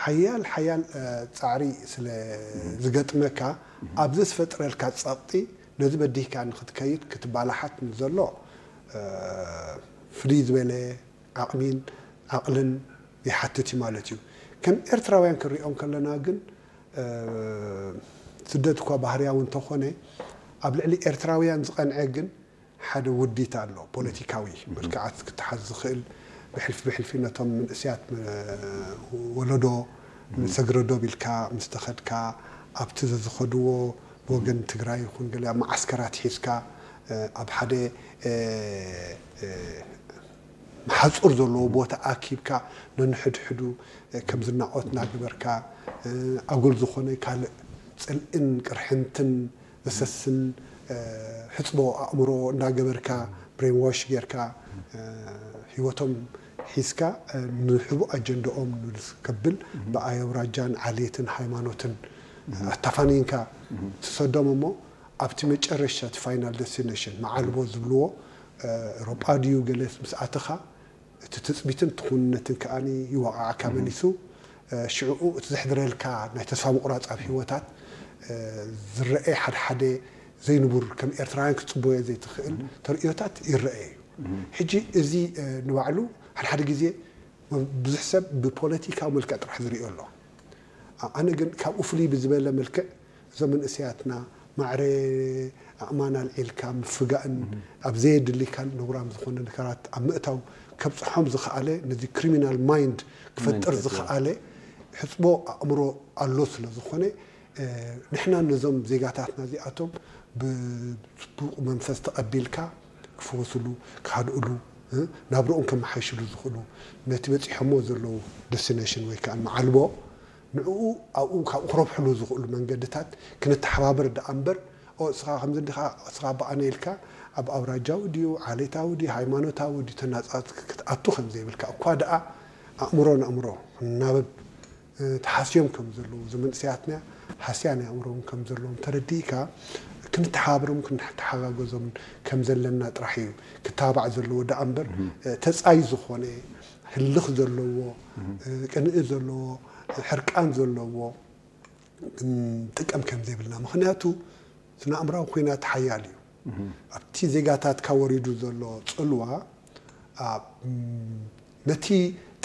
ሓያል ሓያል እ፣ ጻዕሪ ስለ ዝገጥመካ ኣብዚ ዝፈጥረልካ ጸቕጢ ነዚ በዲህካ ንክትከይድ ክትባላሓት ንዘሎ እ፣ ፍልይ ዝበለ ዓቕሚን ዓቕልን ይሓትት እዩ ማለት እዩ። ከም ኤርትራውያን ክንሪኦም ከለና ግን እ፣ ስደት እኳ ባህርያዊ እንተኾነ ኣብ ልዕሊ ኤርትራውያን ዝቐንዐ ግን ሓደ ውዲት ኣሎ። ፖለቲካዊ መልክዓት ክተሓዝ ዝኽእል ብሕልፊ ብሕልፊ ነቶም መንእስያት እ፣ ወለዶ ንሰግረዶብ ኢልካ ምስ ተኸድካ ኣብቲ ዘዝኸድዎ ብወገን ትግራይ ይኹን ገለ ኣብ መዓስከራት ሒዝካ እ፣ ኣብ ሓደ እ፣ እ፣ ሓጹር ዘለዎ ቦታ ኣኪብካ ነንሕድሕዱ እ፣ ከም ዝናቖት እናገበርካ እ፣ ኣጉል ዝኾነ ካልእ ጽልእን ቅርሕንትን ዘሰስን እ፣ ሕጽቦ ኣእምሮ እናገበርካ ብሬንዋሽ ጌርካ እ፣ ህይወቶም ሒዝካ እ፣ ንሕቡእ ኣጀንዳኦም ንልስ ከብል ብኣይ ኣውራጃን ዓሌትን ሃይማኖትን ኣታፋኒንካ ትሰዶም እሞ ኣብቲ መጨረሻ እቲ ፋይናል ደስቲኔሽን መዓልቦ ዝብልዎ እ፣ ኤውሮጳ ድዩ ገለ ምስ ኣተኻ እቲ ትጽቢትን ትኹንነትን ከኣ ይወቓዕካ መሊሱ እ፣ ሽዕኡ እቲ ዘሕድረልካ ናይ ተስፋ ምቑራጽ ኣብ ህይወታት እ፣ ዝረአ ሓድሓደ ዘይንቡር ከም ኤርትራውያን ክትጽበዮ ዘይትኽእል ተርእዮታት ይረአ እዩ። ሕጂ እዚ እ፣ ንባዕሉ ሓድሓደ ግዜ ብዙሕ ሰብ ብፖለቲካዊ መልክዕ ጥራሕ ዝርእዮ ኣሎ። ኣ- ኣነ ግን ካብኡ ፍልይ ብዝበለ መልክዕ እዞም መንእሰያትና ማዕረ ኣእማን ኣልዒልካ ምፍጋእን ኣብ ዘየድሊ ካልእ ነውራም ዝኾነ ነገራት ኣብ ምእታው ከብፅሖም ዝኸኣለ ነዚ ክሪሚናል ማይንድ ክፈጥር ዝኸኣለ ሕፅቦ ኣእምሮ ኣሎ ስለ ዝኾነ እ፣ ንሕና ነዞም ዜጋታትና እዚኣቶም ብፅቡቕ መንፈስ ተቐቢልካ ክፍወስሉ ክሃድእሉ እ፣ ናብርኦም ከመሓይሽሉ ዝኽእሉ ነቲ በፂሖሞ ዘለዉ ደስቲኔሽን ወይ ከዓ መዓልቦ ንዕኡ ኣብኡ ካብኡ ክረብሕሉ ዝኽእሉ መንገድታት ክንተሓባበር ደኣ እምበር ኦ እስኻ ከምዚ እንዲኻ እስኻ በኣነ ኢልካ ኣብ ኣውራጃዊ ድዩ ዓሌታዊ ድዩ ሃይማኖታዊ ድዩ ተናፃት ክትኣቱ ከም ዘይብልካ እኳ ደኣ ኣእምሮ ንኣእምሮ ክናበብ እ፣ ተሃስዮም ከም ዘለዉ እዚ መንእሰያትና ሃስያ ናይ ኣእምሮም ከም ዘለዎም ተረዲእካ ክንተሓባብሮም ክንተሓጋገዞም ከም ዘለና ጥራሕ እዩ ክተባባዕ ዘለዎ ደኣ እምበር እ፣ ተጻይ ዝኾነ ህልኽ ዘለዎ እ፣ ቅንኢ ዘለዎ ሕርቃን ዘለዎ ክንጥቀም ከም ዘይብልና ምክንያቱ ስነ ኣእምራዊ ኩናት ሓያል እዩ ኣብቲ ዜጋታትካ ወሪዱ ዘሎ ፅልዋ ኣብ ነቲ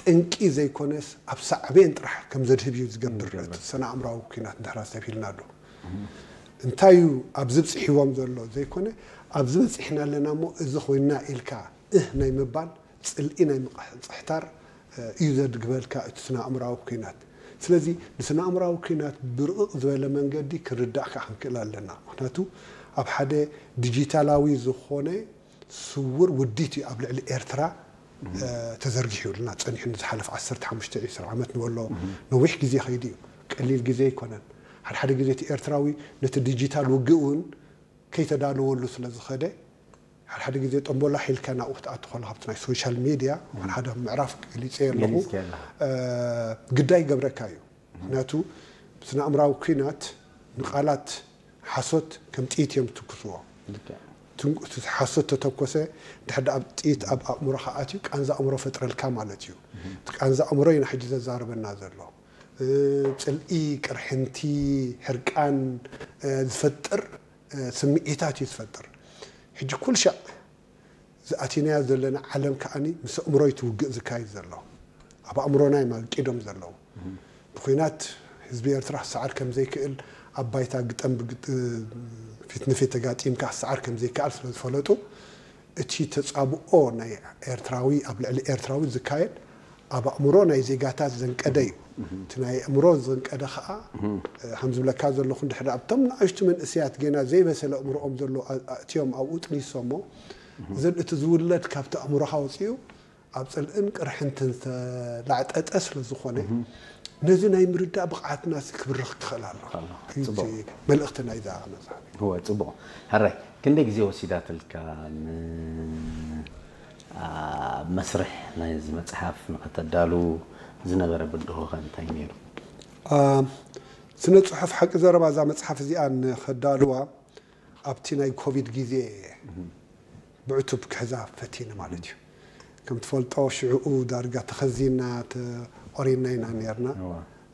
ጠንቂ ዘይኮነስ ኣብ ሳዕቤን ጥራሕ ከም ዘድህብ እዩ ዝገብር እቲ ስነ ኣእምራዊ ኩናት እንድሕር ኣስተብሂልና ኣሎ እንታይ እዩ ኣብዚ ብፅሒዎም ዘሎ ዘይኮነ ኣብዚ በፂሕና ኣለና እሞ እዚ ኮይና ኢልካ እህ ናይ ምባል ፅልኢ ናይ ምፅሕታር እዩ ዘድግበልካ እቲ ስነ ኣእምራዊ ኩናት ስለዚ ንስነ ኣእምራዊ ኩናት ብርቕቕ ዝበለ መንገዲ ክንርዳእ ከዓ ክንክእል ኣለና ምክንያቱ ኣብ ሓደ ዲጂታላዊ ዝኾነ ስውር ውዲት እዩ ኣብ ልዕሊ ኤርትራ ተዘርጊሑ ይብልና ፀኒሑ ንዝሓለፍ ዓሰርተ ሓሙሽተ ዒስራ ዓመት ንበሎ ነዊሕ ግዜ ከይዱ እዩ ቀሊል ግዜ ኣይኮነን ሓደ ሓደ ግዜ እቲ ኤርትራዊ ነቲ ዲጂታል ውግእ እውን ከይተዳለወሉ ስለ ዝኸደ ሓደ ሓደ ግዜ ጠንቦላ ሒልካ ናብኡ ክትኣቱ ከሎ ካብቲ ናይ ሶሻል ሚድያ ሓደ ምዕራፍ ገሊፀ ኣለኹ ግዳይ ይገብረካ እዩ ምክንያቱ ስነ ኣእምራዊ ኩናት ንቃላት ሓሶት ከም ጥይት እዮም ዝትኩስዎ ሓሶት ተተኮሰ ድሕር ኣብ ጥይት ኣብ ኣእምሮኻ ኣትዩ ቃንዛ ኣእምሮ ፈጥረልካ ማለት እዩ ቃንዛ ኣእምሮ ኢና ሕጂ ዘዛርበና ዘሎ ፅልኢ ቅርሕንቲ ሕርቃን ዝፈጥር ስምዒታት እዩ ዝፈጥር ሕጂ ኩል ሻዕ ዝኣቲናዮ ዘለና ዓለም ከዓኒ ምስ ኣእምሮ እዩ ትውግእ ዝካየድ ዘሎ ኣብ ኣእምሮና እዮም ኣልቂዶም ዘለዉ ብኩናት ህዝቢ ኤርትራ ክሰዓር ከም ዘይክእል ኣብ ባይታ ግጠም ፊት ንፊት ተጋጢምካ ክሰዓር ከም ዘይከኣል ስለ ዝፈለጡ እቲ ተጻብኦ ናይ ኤርትራዊ ኣብ ልዕሊ ኤርትራዊ ዝካየድ ኣብ ኣእምሮ ናይ ዜጋታት ዘንቀደ እዩ እቲ ናይ ኣእምሮ ዘንቀደ ከዓ ከም ዝብለካ ዘለኹ እንድሕር ኣብቶም ንኣሽቱ መንእስያት ገና ዘይበሰለ ኣእምሮኦም ዘሎ ኣእትዮም ኣብኡ ጥኒሶሞ እዘን እቲ ዝውለድ ካብቲ ኣእምሮኻ ወፂኡ ኣብ ፅልእን ቅርሕንትን ዝተላዕጠጠ ስለ ዝኾነ ነዚ ናይ ምርዳእ ብቕዓትና ክብርኽ ክኽእል ኣሎ እዩ እቲ መልእኽቲ ናይዛ መፅሓፍ እወ ፅቡቕ ሕራይ ክንደይ ግዜ ወሲዳትልካ ን ኣብ መስርሕ ናይዚ መፅሓፍ ንኸተዳሉ ዝነበረ ብድሆኸ እንታይ ነይሩ? ስነ ፅሑፍ ሓቂ ዘረባ እዛ መፅሓፍ እዚኣ ንኸዳልዋ ኣብቲ ናይ ኮቪድ ግዜ ብዕቱብ ክሕዛ ፈቲነ ማለት እዩ ከም ትፈልጦ ሽዕኡ ዳርጋ ተኸዚና ተቆሪና ኢና ነርና